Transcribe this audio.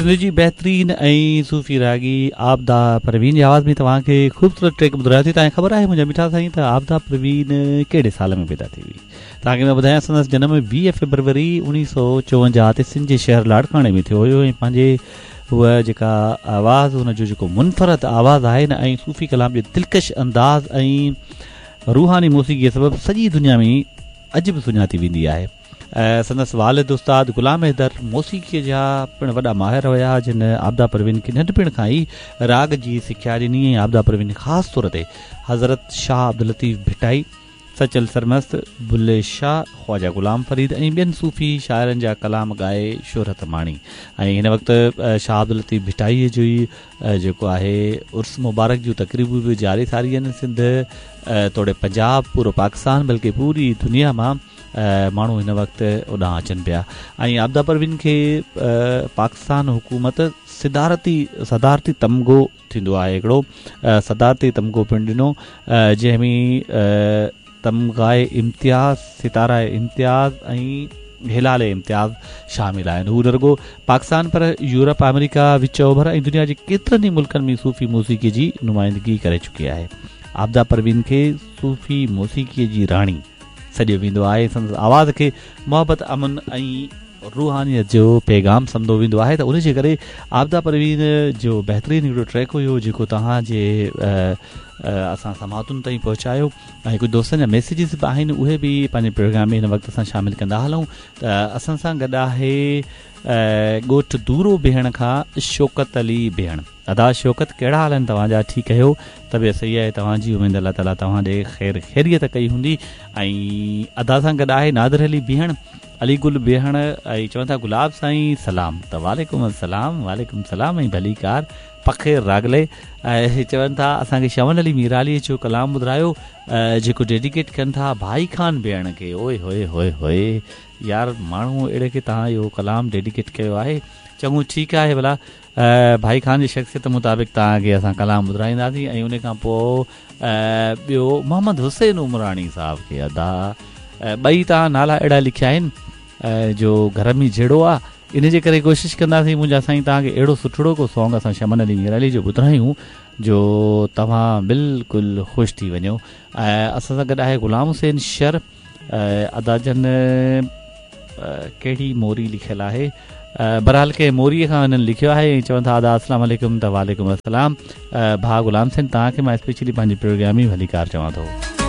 سنڌ جي بهترين ۽ صوفي راڳي عابده پروين جي آواز ۾ توهان کي خوبصورت ٽريڪ ٻڌرايو ٿي. توهان کي خبر آهي منهنجا مٺا سائين ته عابده پروين ڪهڙي سال ۾ پيدا ٿي هئي؟ توهان کي مان ٻڌايان سندس جنم 20 فيبروري 1954 تي سنڌ جي شهر لاڙڪاڻي ۾ ٿيو هيو ۽ پنهنجي هوء جيڪا آواز هن جو جيڪو منفرد آواز آهي نه ۽ صوفي ڪلام جي دلڪش انداز ۽ روحاني موسيقي سبب سڄي دنيا ۾ اڄ به سڃاتي ويندي آهي. سندس والد استاد غلام حيدر موسيقيء جا پڻ وڏا ماهر هيا، جن عابده پروين کي ننڍپڻ کان ئي راڳ جي سکيا ڏني ۽ عابده پروين خاص طور تي حضرت شاهه عبداللطيف ڀٽائي، سچل سرمست، بلي شاهه، خواجه غلام فريد ۽ ٻين صوفي شاعرن جا ڪلام ڳائي شهرت ماڻي ۽ هن وقت شاهه عبداللطيف ڀٽائيء جو ئي جيڪو آهي عرس مبارڪ جون تقريبون به جاري ساري آهن سنڌ توڙي پنجاب پورو پاڪستان بلڪه پوري دنيا مان ماڻهو هن وقت اوڏانهن اچن پيا ۽ عابده پروين کي پاڪستان حڪومت صدارتي صدارتي تمغو ٿيندو آهي هڪڙو صدارتي تمغو پڻ ڏنو جنهن ۾ تمغه امتياز ستاره امتياز ۽ هلال امتياز شامل آهن هو نه رڳو پاڪستان پر يورپ آمريڪا وچ اوڀر ۽ دنيا جي ڪيترن ئي ملڪن ۾ صوفي موسيقي جي نمائندگي ڪري چڪي آهي عابده پروين کي صوفي موسيقي جي راڻي سڏيو ويندو آهي. سندس آواز کي محبت، امن ۽ روحانيت جو پيغام سمجهيو ويندو آهي ته ان جي ڪري عابده پروين جو بهترين هڪڙو ٽريڪ هيو جيڪو توهان جي اسان سماعتن تائين پهچايو ۽ ڪجهه دوستن جا ميسيجز به آهن اهي به پنهنجي پروگرام ۾ هن وقت اسان شامل ڪندا هلون ته اسان سان گڏ آهي ڳوٺ دورو بيهڻ کان شوڪت علي بيهڻ. ادا شوڪت ڪهڙا حال آهن توهان جا ٺيڪ آهيو طبيعت صحيح آهي توهان جي اميد الله تعالي توهان ڏي خير خيريت ڪئي هوندي ۽ ادا سان گڏ آهي نادر علي بيهڻ علي گل بيهڻ ۽ چون ٿا گلاب سائين سلام ته وعليڪم السلام وعليڪم السلام ۽ ڀليڪار پخير راغلي ۽ چون ٿا اسان کي شمن علي ميرالي جو ڪلام ٻڌرايو جيڪو ڊيڊيڪيٽ ڪن ٿا ڀائي خان بيهڻ کي اوئي هوئي هوئي هوئي يار ماڻهو اهڙي کي توهان اهو ڪلام ڊيڊيڪيٽ ڪيو آهي چڱو ٺيڪ آهي ڀلا ڀائي خان جي شخصيت مطابق توهان کي اسان ڪلام ٻڌرائينداسين ۽ ان کان پوء ٻيو محمد حسين عمراڻي صاحب کي ادا ٻئي توهان نالا اهڙا لکيا آهن جو گهر ۾ جهيڙو آ ان جي ڪري ڪوشش ڪنداسين منهنجا سائين توهان کي اهڙو سٺڙو ڪو سانگ اسان شمن علي ميرالي جو ٻڌرايون جو توهان بلڪل خوش ٿي وڃو ۽ اسان سان گڏ آهي غلام حسين شر ادا جن ڪهڙي موري لکيل آهي بهرحال ڪنهن موري کان هنن لکيو آهي ۽ چون ٿا ادا السلام عليڪم ته وعليڪم السلام ڀاء غلام حسين توهان کي مان اسپيشلي پنهنجي پروگرام ۾ ڀليڪار چوان ٿو.